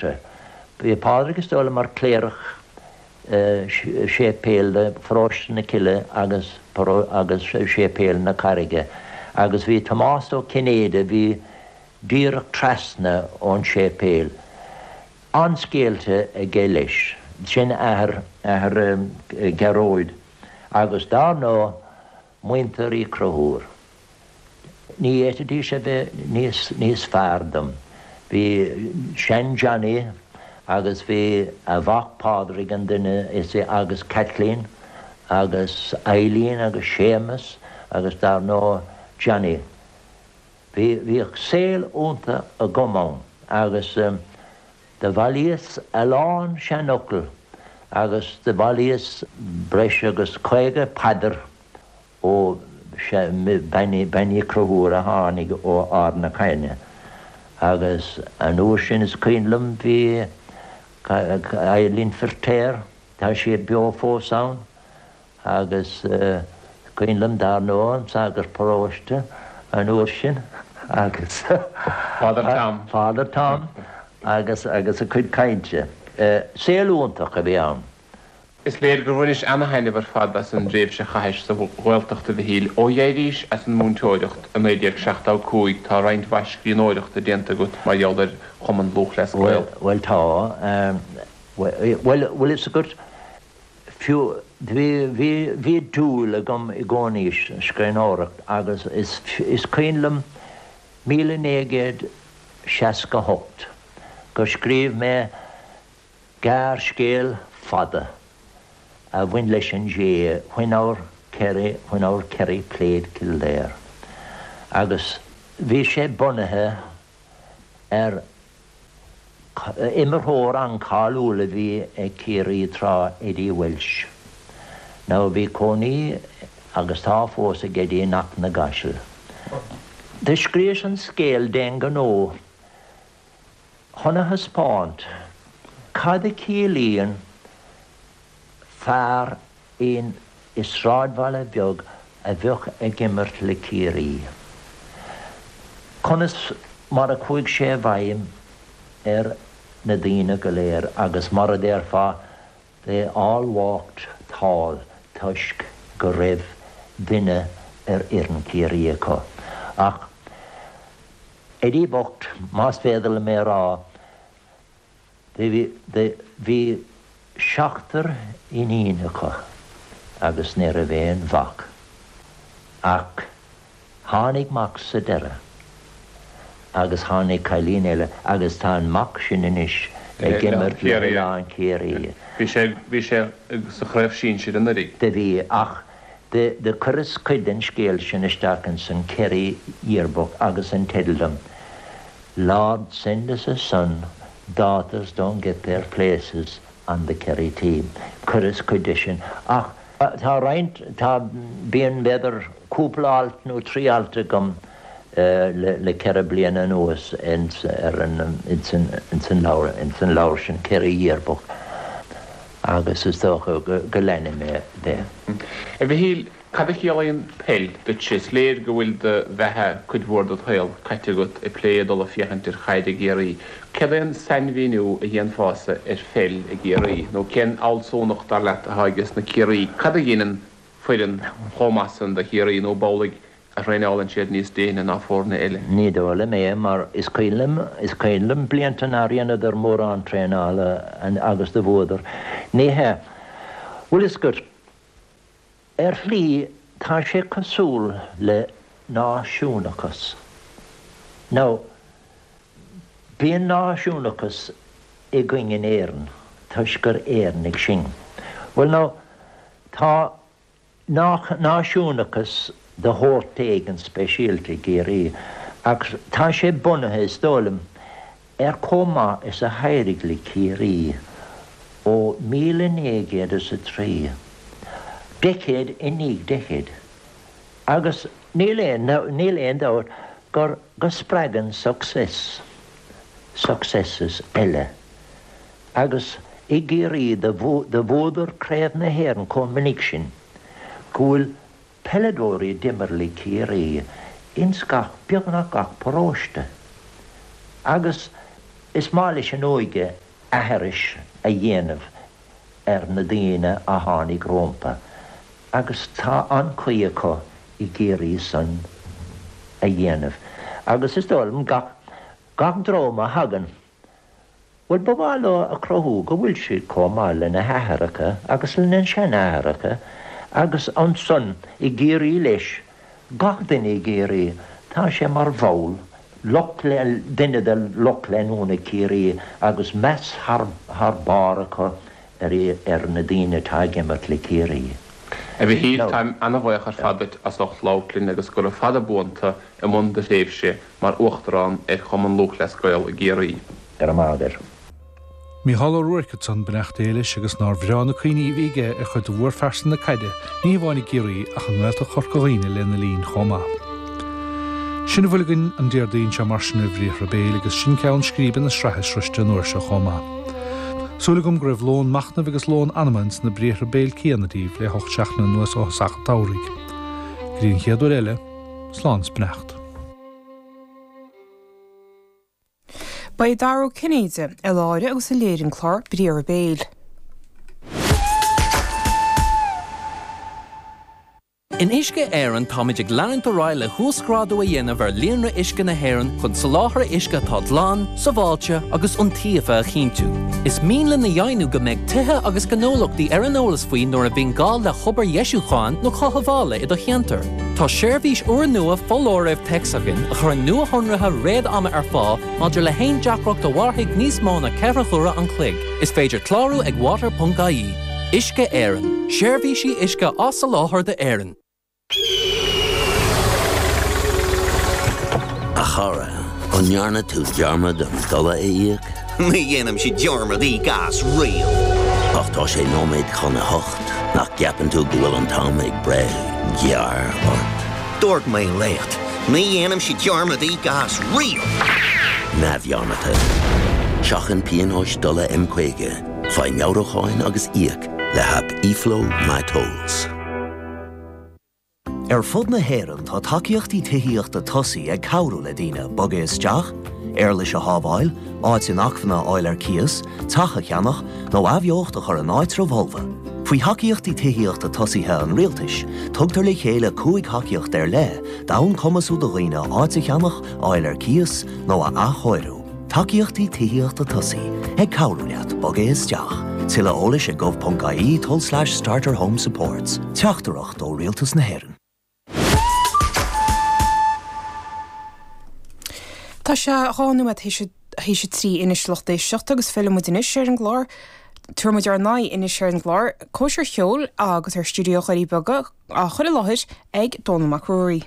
Bhí Pádraig is dóigh liom mar chléireach séipéil de Pharóiste na Cille agus agus séipéal na Carraige agus bhí Tomás Ó Cinnéide a bhí díreach trasna ón séipéal. An-scéalta aige leis. Sin athair athair Ghearóid agus dár ndóigh muintir Uí Chonchúir. Ní fhéadfaidís a bheith níos, níos fearr dom. Bhí sean Johnny agus bhí a mhac Pádraig an duine is agus Kathleen agus Eileen agus Séamus agus dar ndóigh Johnny. Bhí, bhíodh saol iontach agam ann agus do bhailíos a lán seanfhocal agus do bhailíos breis agus 50 paidir ó Bean Uí Chonchúir a tháinig ó Ard na Caithne agus an uair sin is cuimhin liom bhí Eileen Firtéar, tá sí beo fós ann agus is cuimhin liom dar ndóigh an sagart paróiste an uair sin agus Father Tom. Father Tom agus agus a cuid cainte. Saol iontach a bhí ann. Is léir gur bhainis ana-thaitneamh ar fad as an dtréimhse a chaithis sa Ghaeltacht, a Mhichíl. Ó d'éirís as an múinteoireacht i 1975 tá roinnt mhaith scríbhneoireachta déanta agat mar gheall ar Chumann Lúthchleas Gael. Bhuel, tá. Bhuel, bhfuil fhios agat, fiú, bhí, bhí, bhí dúil agam i gcónaí sa scríbhneoireacht agus is, is cuimhin liom 1968 gur scríobh mé Gearrscéal fada a bhain leis an GAA, When Our Kerry, When Our Kerry Played Kildare, agus bhí sé bunaithe ar imreoir an-cáiliúil a bhí ag Ciarraí tráth, Eddie Walsh. Now bhí cónaí, agus tá fós, ag Eddie in Achadh na gCaiseal. Do scríos an scéal d'aon ghnó. Chun a thaispeáint cad a chiallaíonn fear in i sráidbhaile beag a bheadh ag imirt le Ciarraí. Conas mar a chuaigh sé i bhfeidhm ar na daoine go léir agus mar a déarfá they all walked tall toisc go raibh duine ar fhoireann Chiarraí acu. Ach. Eddie bocht, más féidir liom é a rá, bhí seachtar iníon acu agus ní raibh aon mhac. Ach tháinig mac sa deireadh agus tháinig cailín eile agus tá an mac sin anois ag imirt le hOileán Ciarraí. Bhí sé, bhí sé sa chraobh sinsir anuraidh. Do bhí, ach Do chuireas cuid den scéal sin isteach ins an Kerry Yearbook agus an teideal dom, Lord send us a son, daughters don't get their places on the Kerry team. Chuireas cuid de sin. Ach tá roinnt, tá, bíonn b'fhéidir cúpla alt nó trí alt agam le ceithre bliana anuas ins ar an, ins an, ins an leabhar, ins an leabhar sin, Kerry Yearbook. Agus is dócha go leanfaidh mé de. A Mhichíl, cad a chiallaíonn peil duitse? Is léir go bhfuil do bheatha, cuid mhór dod shaol, caite agat ag plé ag dul ag féachaint ar chaid i gCiarraí. Céard é an sainmhíniú a dhéanfása ar pheil i gCiarraí? Nó cén fhealsúnacht, dar leat, atá ages na Ciarraígh? Cad a ghineann foireann chomh maith san do Chiarraí nó ab amhlaidh a thraenálann siad níos déine ná foirne eile. Ní dóigh liom é, mar is cuimhin liom, is cuimhin liom blianta nár dheineadar mórán traenála agus do bhuadar. Ní hea. Bhfuil fhios agat, ar shlí tá sé cosúil le náisiúnachas. Now, bíonn náisiúnachas againn in Éirinn toisc gur Éireannaigh sinn. Bhuel now, tá náisiúnachas de shórt éigin speisialta i gCiarraí, ach tá sé bunaithe, is dóigh liom, ar chomh maith is a d'éirigh le Ciarraí ó 1903, deicéad i ndiaidh deicéid. Agus níl aon, níl aon dabht gur, go spreagann success, successes eile. Agus i gCiarraí do bhuadar Craobh na hÉireann chomh minic sin go bhfuil peileadóirí a d'imir le Ciarraí ins gach, beagnach gach paróiste. Agus. Is maith leis an óige aithris a dhéanamh ar na daoine a tháinig rómpa agus tá an-chaoi acu i gCiarraí san a dhéanamh agus is dóigh liom gach gach dream a thagann, bhuel ba mhaith leo a chruthú go bhfuil siad chomh maith lena haithreacha agus lena seanaithreacha agus ansan i gCiarraí leis, gach duine i gCiarraí, tá sé mar bhall, lucht, duine de lucht leanúna Chiarraí agus meas thar thar barr acu ar ar na daoine atá ag imirt le Ciarraí. A Mhichíl, táim ana-bhaoch ar fad duit as ucht labhairt linn agus gura fada buan tú i mbun do thréimhse mar Uachtarán ar Chumann Lúthchleas Gael i gCiarraí. Go raibh maith agat. Mícheál Ó Ruairc ansan, beannacht Dé leis, agus nár bhreá na cuimhní a bhí aige ar chuid de mhórphearsan na caide, ní hamháin i gCiarraí ach i nGaeltacht Chorca Dhuibhne lena linn chomh maith. Sin a bhfuil againn an Déardaoin seo mar sin ar Bhriathra Béil agus sin ceann scríbe na sraithe sroiste an uair seo chomh maith. Súil agam go raibh lón machnaimh agus lón anama ins na briathra béil céanna daoibh le hocht seachtaine anuas ó thosach an tsamhraidh. Go dtí an chéad uair eile, slán is beannacht. Ba é Dara Ó Cinnéide a láithrigh agus a léirigh an clár Briathra Béil. In Uisce Éireann táimid ag leanúint ar aghaidh le huasghrádú a dhéanamh ar líonra uisce na hÉireann chun soláthar uisce atá glan, sábháilte agus iontaofa a chinntiú. Is mian linn a dheimhniú go mbeidh tithe agus gnólachtaí ar an eolas faoi nuair a bhíonn gá le hobair dheisiúcháin nó chothabhála i do cheantar. Tá seirbhís úrnua foláirimh téacs againn a chuireann nuashonruithe réad-ama ar fáil maidir le haon deacracht a mhairfidh níos mó ná 4 huaire an chloig. Is féidir clárú ag water.ie. Uisce Éireann, seirbhísí uisce á soláthar d'Éirinn. A chara, an ndearna tú dearmad an dola a íoc? Ní dhéanaimse dearmad íoc as riamh. Ach tá sé nóiméad chun a hocht, nach gceapann tú go bhfuil an t-am ag breith gearr ort? Dúirt mé leat, ní dhéanaimse dearmad íoc as riamh! Neamhdhearmadta. Seachain pionóis dola M50, faigh meabhrúcháin agus íoc le haip eFlow MyTolls. Ar fud na hÉireann tá tacaíochtaí tithíochta tosaigh ag cabhrú le daoine bogadh isteach, éarlais a shábháil, áit inacmhainne a fháil ar cíos, teach a cheannach, nó athbheocht a chur in áitreabh fholmha. Faoi Thacaíochtaí Tithíochta Tosaithe an Rialtais, tugtar le chéile 5 thacaíocht ar leith d'fhonn cumasú do dhaoine áit a cheannach, a fháil ar cíos, nó a athchóiriú. Tacaíochtaí Tithíochta Tosaigh, ag cabhrú leat bogadh isteach. Tuilleadh eolais ag gov.ie tulslais starter home supports. Teachtaireacht ó Rialtas na hÉireann. Tá sé 2 nóiméad théis a 3 anois lucht éisteachta agus fillfidh muid anois ar an gclár. Tabharfaidh muid ár n-aghaidh anois ar an gclár Cóisir Cheoil agus ar Stiúideo Dhoirí Beaga á chur i láthair ag Dónall Mac Ruairí.